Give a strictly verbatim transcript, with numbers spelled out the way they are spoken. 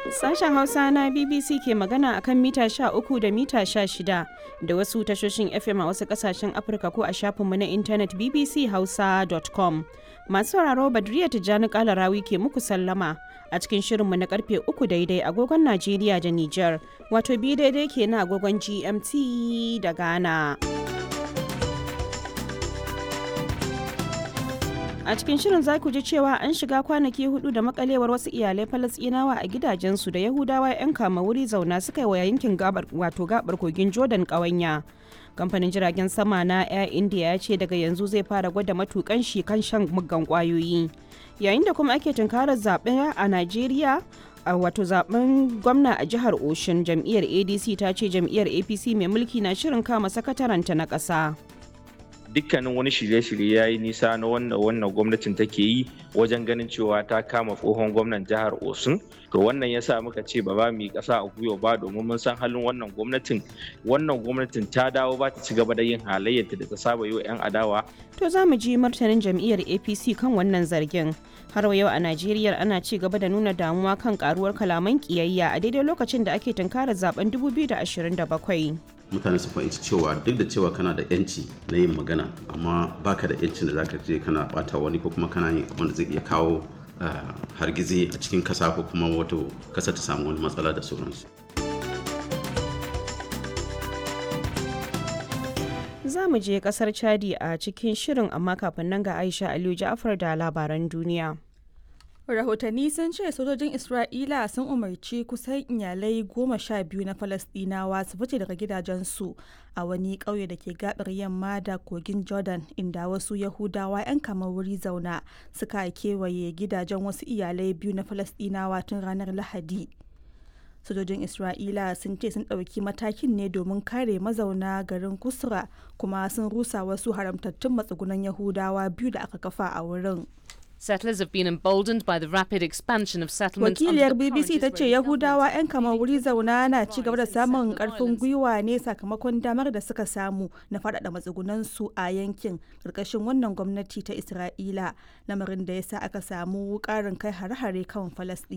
Sashen Hausa na B B C ke magana akan mita sha uku da mita sha shida da wasu tashoshin F M a wasu kasashen Afirka ko a shafinmu na intanet B B C Hausa dot com. Masu sauraro, Badriya Tijjani Kalarawi ke muku sallama a cikin shirinmu na karfe uku daidai agogon Najeriya da Nijar, wato bi daidai ke na agogon G M T da Ghana. A cikin shirin za ku ji cewa an shiga kwanaki hudu da makalewar wasu iyalai Falasɗinawa a gidajensu da Yahudawa 'yan kama wuri zauna suka yi wa yankin gabar, wato gabar kogin Jordan, ƙawanya. Kamfanin jiragen sama na Air India ya ce daga yanzu zai fara gwada matukan shi kan shan muggan kwayoyi. Yayin da kuma ake tunkarar zaɓe a Najeriya, a wato zaben gwamna a jihar Oshun, jam'iyyar A D C ta ce jam'iyyar A P C mai mulki na shirin kama sakataranta na ƙasa. Dukkanin wani shirye-shirye ya yi nisa na wannan wannan gwamnatin take yi wajen ganin cewa ta kama tsohon gwamnan jihar Osun. To, wannan ya sa muka ce ba ba mu yi ƙasa a gwiwa ba, domin mun san halin wannan gwamnatin. Wannan gwamnatin ta dawo ba ta ci gaba da yin halayyarta da ta saba yi wa 'yan adawa. To, za mu ji martanin jam'iyyar A P C kan wannan zargin. Har yau a Najeriya, ana ci gaba da nuna damuwa kan karuwar kalaman kiyayya a daidai lokacin da ake tunkarar zaben dubu biyu da ashirin da bakwai. Mutane su fahimci cewa duk da cewa kana da yanci na yin magana, amma baka da yancin da zaka je kana bata wani ko kuma kana yin abin da zai iya kawo hargizi a cikin kasa, ko kuma wato kasa ta samu wani matsala da sauransu. Za mu je kasar Chadi a cikin shirin, amma kafin nan ga Aisha Aliyu Ja'afar da labaran duniya. Rahotanni sun ce sojojin Isra'ila sun umarci kusan iyalai goma sha biyu na Falasɗinawa su fice daga gidajensu a wani ƙauye da ke gabar yamma da kogin Jordan, inda wasu Yahudawa 'yan kamar wuri zauna suka kewaye gidajen wasu iyalai biyu na Falasɗinawa tun ranar Lahadi. Sojojin Isra'ila sun ce sun ɗauki matakin ne domin kare mazauna garin Kusra, kuma sun rusa wasu haramtattun matsugunan Yahudawa biyu da aka kafa a wurin. Settlers have been emboldened by the rapid expansion of settlements. Wakiliyar B B C ta ce Yahudawa 'yan kamar wuri zauna na ci gaba da samun karfin gwiwa ne sakamakon damar da suka samu na faɗaɗa matsugunansu a yankin ƙarƙashin wannan gwamnati ta Isra'ila, lamarin da ya sa aka samu ƙarin kai hare-hare kan Falasɗina.